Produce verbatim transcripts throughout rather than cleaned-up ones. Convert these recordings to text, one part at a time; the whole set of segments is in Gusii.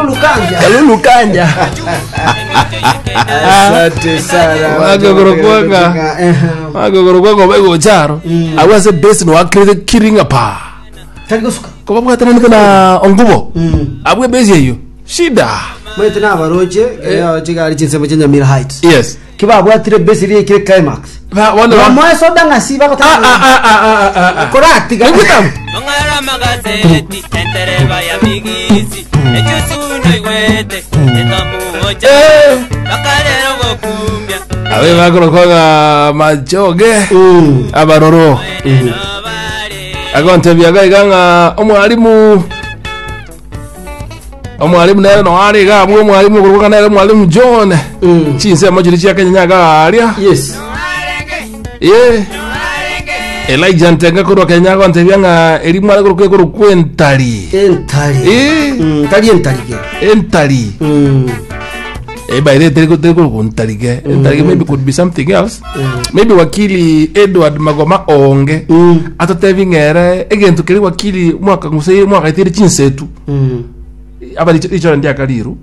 Kalulu Kanja. Kalulu Kanja. Asante sana. Wagogoro kwanga. Eh, Wagogoro kwanga obegocharo. Mm. Abwo ase base no wakirete kiringa pa. Tari gosuka. Kobabwatananete na ongubo. Mm. Abwo ebase eyo. Shida. Mwete nabaroche eh, chigari chinsemo chia Nyamira Heights. Yes. Kibabwatire base iri ekire climax. Ba wano ba. Bamoe soda ng'asi Ah bagotaka. ah ah ah ah ah ah. Koratiga. Ngwitamu. Mong'ara magazeti entereba ya migisi echusuno igwete etamuocha Eh. bakarero gokumbia Abe bakorokoga machoge. Mm. Abaroro. enobare Agontebia gaiga ng'a omwalimu omwalimu nere noare iga abwo omwalimu okoruka nere omwalimu John. Mm. Chinsemo chiri chia Kenya nyaga aria. Yes. Ye. Elijah Ntenga korwa Kenya agontebia ng'a eri mware korokwa ekorokwa entari. Entari. Eh. Mm, tari entari ke. Entari. Mm. Eh, by the way, teri korokwa entari ke. Entari ke maybe could be something else. Maybe wakili Edward Magoma onge. Mm. Atotebi ng'ere egento keri wakili mwaka nguse mwaka itiri chinsetu. Mm. Aba richora ndiakariru.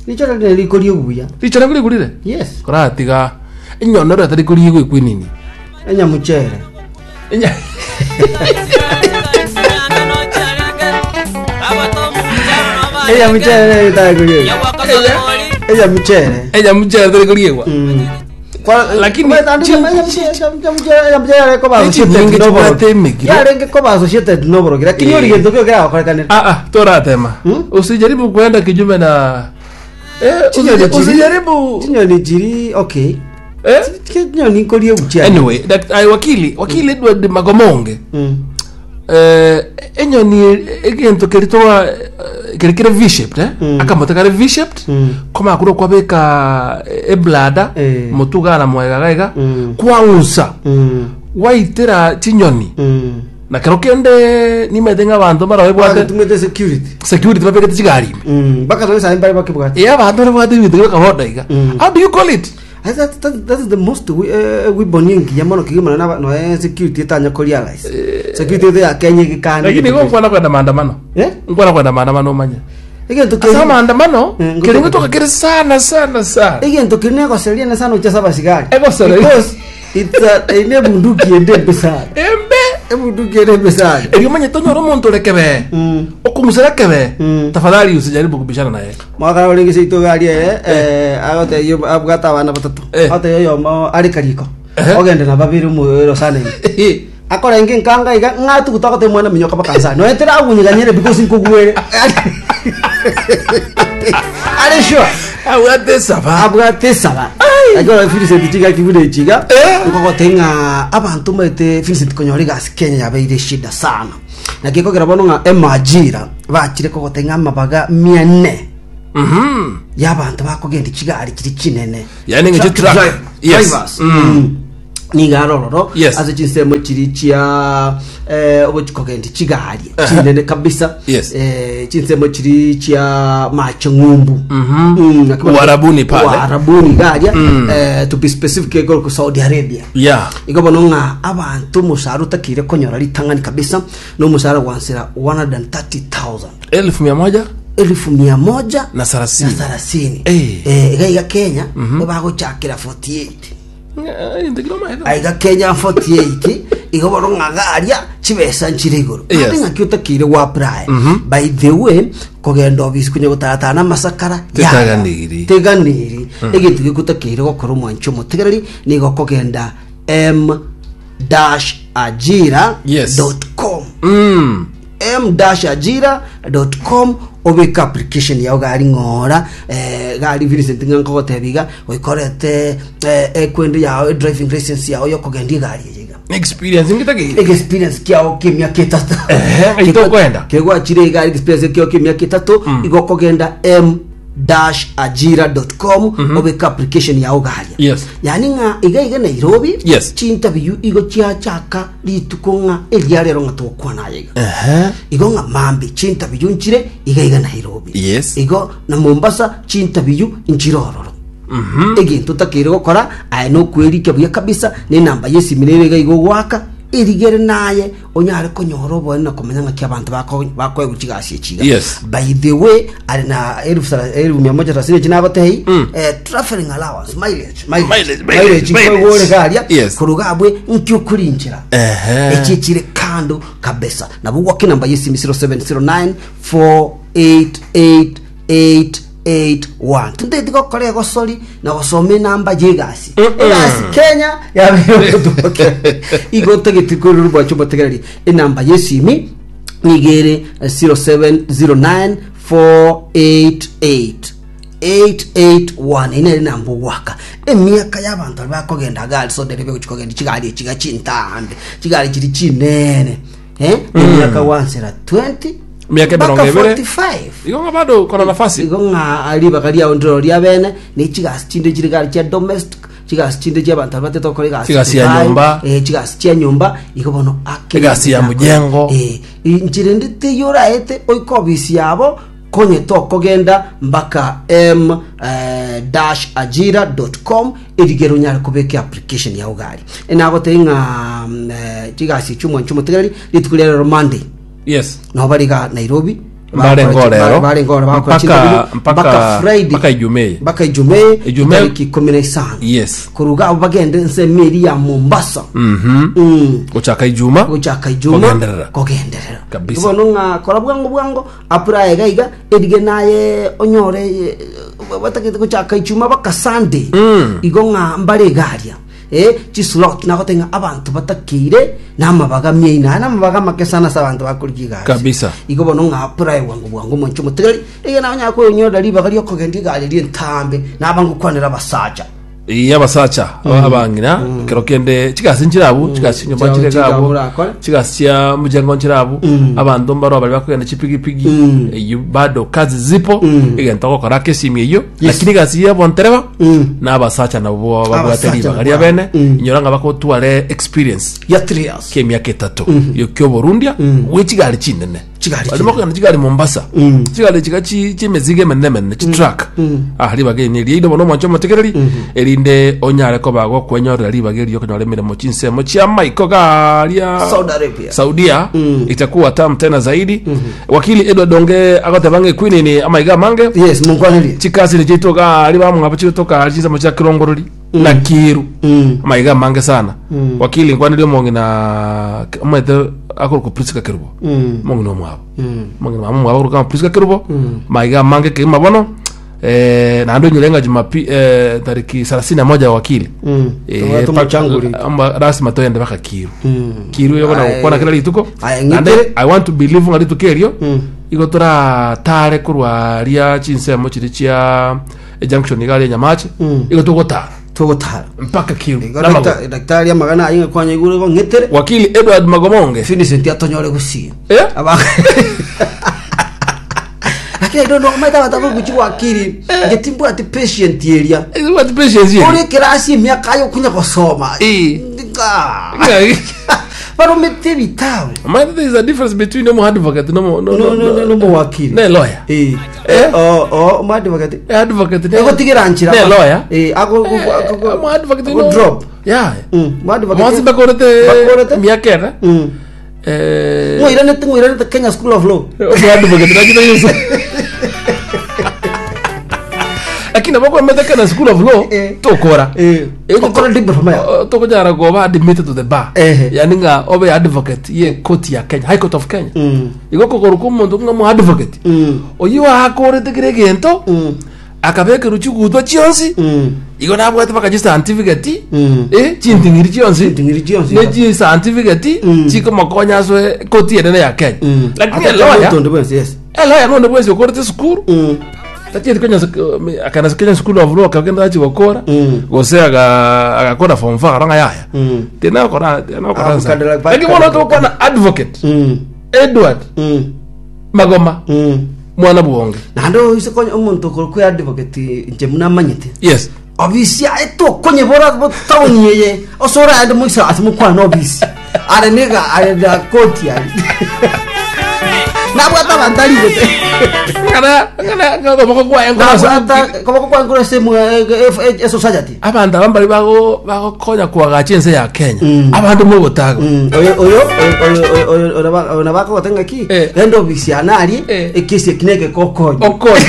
Nicho rene rikorie buya. Richora ngurigurire. Yes. Koratiga enyonoro atari kurigwa ekwinini. Enyamuchere. Enya Enyamuchere tari kurie. Enyamuchere. enyamuchere atari kurigwa. Mm. Kwa Lakini chi- Chinyinge chibwate emegiro. yarenge koba associated noborogi lakini Eh. ori gento kio kiragokorekanera Ah ah, toratema. Hmm? Usijaribu kuenda kinyume na eh, Chinyoni usijaribu, chiri- usijaribu. chinyoni chiri okay Eh? chinyoni nkorie buchia Anyway, that, ay, wakili, wakili Edward Magomonge. Mm. Eh, enyoni egento keritoa keri kere V-shaped eh? Mm. Akamote kare V-shaped. Mm. Koma kuro kwabeka eblada Eh. mutuga na mwega gaiga Mm. kwaunsa Mm. waitera chinyoni Mm. na kero kende nimete ng'abanto mara babwate Batumete security security babekete chigari ime Mm. Bakatoe mbare bakibwate eh abanto babwate ebinto bakaboda iga. Mm. How do you call it? I that, that, that is the most we, uh, weapon engiya mono kigimana na no eh, security etanya ko realize security ete ya Kenya gikani Lakini igo nkwana kwenda maandamano eh nkwana kwenda maandamano omanye egento ase keri maandamano Eh, keri ngotoka kere sana sana sana. Egento keri negoseria ne sana uchasa basigari Egoseria. because it's a ine bunduki ende embe sana. Embe. Ebunduki ende embe sana. Erio omanye tonyora omonto ore kebe mm okumusera kebe. Mm. Tafadhali usijaribu kubishana naye. Mwakara orenge seito gari eh eh agote abwata abana batatu. Eh. Agote yomo ari kariko. Eh. Ogende na babiri mu sana akorenge nkanga iga ng'atuguta agote mwana minyoka bakansani noetera agunyiganyere because nkogwere ari sure. Abwate saba. Abwate saba agora Vincent chiga kibune chiga. Eh. Nkogote ng'a abantu maete Vincent konyora igasi Kenya yabeire shida sana na gikogera bono ng'a emajira bachire kogote ng'a amabaga mia nne Mhm. y'abantu bakogenda chigari chiri chinene. Yani ng'eche Truck truck. dri- Yes. drivers. Mm. Mm. Niga arororo Yes. ase chinsemo chiri chia eh, ogochikogenda chigari chinene kabisa. Yes. eh, chinsemo chiri chia mache ng'umbu. Mhm. Mm, akiwa- Uarabuni pale. Uarabuni garia. Mm. eh, to be specific egoro Saudi Arabia. Yeah. Igo bono ng'a abantu omusara otakire konyora ritang'ani kabisa n'omusara gwansera one hundred thirty thousand. Elfu mia moja Elfu mia moja na thelathini. Na thelathini. Eh. Eh, iga iga Kenya bagochakera forty-eight. Eh, ndikiro maitho. Aiga Kenya forty-eight igo bono ng'a garia chibesa nchire igoro. Yes. Ande ng'aki otakire gwa apply. By the way, kogenda obisi kunya gotaratana masakara. Tetaganiri. Teganiri egento gikutakire gokora omwancho omotegereri nigo kogenda m dash ajira Yes. dot com. Mm. M dash ajira dot com obeka application yao gari ng'ora eh, gari Vincent ng'a nkogotebia iga goikorete eh, ekwende yao driving license yao yokogendia egari eye iga. Experience ngitagire. Experience kiao kia miaka etato. Ehe, itokwenda. Kegwachire igari experience kiao kia miaka etato igo kogenda m dash ajira dot com obeka application yao garia. Yes. Yani ng'a iga iga Nairobi Yes. chinterview igo chiachaka rituko ng'a eria rero ng'a togokwana iga. Ehe. Igo ng'a mambi chinterview nchire iga iga Nairobi. Yes. Igo na Mombasa chinterview nchire ororo. Egento otakire gokora aye nokwerikia buya kabisa ne enamba yesimi nere iga igo gwaka Erigere naye onyare konyora oboene na komenya ng'aki abanto bako- bakoegwa chigasi echiga. Yes. By the way, ari na elfu thela- elfu mia moja thelathini chinagotei, eh, traveling allowance, mileage, Mileage, mileage, mileage mileage. kwegore garia Yes. kuruga abwe nkio kurinchira. Ehe. Echi chire kando kabisa nabo gwaki namba yesimi zero seven zero nine four eight eight eight eight one. Tindeti gokora egosori na gosoma enamba yegasi egasi Kenya yabeire igo tageti koruru bwacho botegereri enamba yesimi nigere zero seven zero nine four eight eight eight eight one. Ine namba gwaka emiaka y'abantu bari bakogenda gari so derebe kogenda chigari echiga chintambe, chigari chiri chinene, eh emiaka wansera twenty Miaka mpaka emirongo ebere. forty-five. Igo ng'a bado kona nafasi. Igo ng'a ribaga riao ndiro ria bene ne chigasi chinde chiri gari chia domestic, chigasi chinde chia abantu batete gokora egasi Chigasi ya Dubai, nyomba. eh, chigasi chia nyomba igo bono ake Egasi ya mujengo. eh nchire ndite yoraete oiko obisi yabo konye tokogenda mpaka m eh, dash ajira dot com erigero nyare kubeka application ya ugari enagotei ng'a mm, eh, chigasi chumwa nchumotegereri rituko ria rero Monday Yes. no bariga Nairobi. Bare ngorero. Bare ngorero bakora Mpaka- chinterview mpaka- Friday, mpaka Ijumaa. mpaka Ijumaa. Ijumaa. Tariki ikumi na isano. Yes. Kuruga abo bagende nse meri ya Mombasa. Mhm. Mm. Gochaka Ijuma. Gochaka Ijuma. Kogenderera. Kogenderera. Kabisa. Bono ng'a kora bwango bwango apura iga iga erige naye onyore eh, batagete gochaka Ijuma baka Sunday. Mm. Igo ng'a mbare garia eh chislot nagotenga abantu batakire namabaga mieina namabaga make sana sa abantu bakurikiga. Kabisa. Igo bono ng'a apply bwango bwango moncho mutegeri iga nawe nyako ribaga ryokogenda igari rientambe nabangukwanira abasacha. Iya, abasacha abang'ina kero kende chigasi nchirabu, chigasi nyomba Chao- nchire chigabo gabo urakora. chigasi chia mujengo nchirabu, abanto mbaro bari bakogenda chipigipigi eyo bado kazi zipo egento gokora kesimi eyo, lakini gasi ya bontereba n'abasacha nabo babwate Abasacha ribaga ria nabo. bene inyora nga bakotware experience ya three years kemiaka etato yo kyoborundia gwe chigari chinene. Chigari. Barimo kugenda chigari Mombasa, chigari chiga chi chimizigo emenene menene, chitruck. Ah, ribaga eri riaino bono omwancho omotegereri erinde onyare koba gokwenyorera ribaga erio okonyora emiremo chinsemo chia maiko garia Saudi Arabia. Saudia itakuwa tamu tena zaidi. Wakili Edward Donge agoteba ng'e Queen amaiga mange. Yes, munkwanirie. Chikasi ni chitoka ari bamwabo chitoka chinsemo chia Kirongorori na Kiru. Amaiga mange sana, wakili nkwanirie omong'ina omwete akoruka Priska Kerubo, omong'ina omwabo, omong'ina mama omwabo akoruka Priska Kerubo. Maiga mange kegima bono eh, naende onyore ng'a jumapi eh, tariki thelathini na moja, wakili. Eh, Tobwate omochanguri. pa- amba- rasima toyende baka Kiru. Kiru yogona Aye. gokwana kila rituko. Aye, Naende ng'ikere. I want to believe ng'a rituko erio igo toratare korwa ria chinsemo chiri chia junction iga ria Nyamache, igo togotara tugotara mpaka Kiru igo. Namagoro. Dakta- daktari amagana ayinga kwanya igure go ng'etere. Wakili Edward Magomonge. Vincent atonyore gusie. Eh? Aba- lakini I don't know maita batabo guchi wakiri ngetimbwa ati patient area. Eh, what patience here? Uri kirasi emiaka ayo kunya gosoma. Eh. Nga. Baromete bitawe. Man, there is a difference between no advocate no no no no no no wakiri Ne lawyer. Eh. Eh? Oh oh mu advocate. Eh, advocate ne Egotigera nchira. Ne lawyer. Eh, ako Eh, mu advocate ako no. drop. Yeah. Mm, mu advocate. Mwasi bakorete Bakorete. miaka ere. Mm. Eh, Ngwiranete ngwiranete Kenya School of Law. mu advocate nakita yesu. Lakini abako mete na School of Law Eh. tokora. Eh. Okora diploma ya. Tokojara goba admitted to the bar. Eh. Yani nga obe advocate ye court ya Kenya, High Court of Kenya. Mm. Igo kokoro omonto ng'a mu advocate. Mm. Oyo akorete kire gento Mm. akabekerwa chigutwa chionsi Mm. igo nabwate baka chicertificate Mm. eh chinting'iri chionsi. Chinting'iri chionsi. Ne chicertificate Mm. chikomokonya aswe koti enene ya Kenya, Mm. lakini Ata elawyer Tondo bwensi, yes. elawyer nonde bwensi okorete sukuru Mm. tachieti Kenya akana Kenya School of Law akagenda achigokora Mm. gose aga agakora form four aranga yaya Mm. tena kora tena kora. Ah, kukadala- Lakini bono tokwana advocate Mm. Edward Mm. Magoma Mm. mwana bwonge. Naende oise konya omonto okoro kwe advocate nche munamanyete Yes. obisi aye tokonyebora town yeye osora ande moisa ase mokwana obisi are niga are da koti ari. Nabwata abantu arigete. Ng'ana ng'ana ng'ana kwaye nkorosa. Nabwata koboko kwa nkoro semu e society. Abantu aba mbari bago bagokonya kuagacha ense ya Kenya. Mm. Abandu mogotaga. Mm, oyo oyo oyo oyo oyo nabako gotenga ki Eh. endo bisiana ari Eh. ekesi kineke kokonyo Okonyi.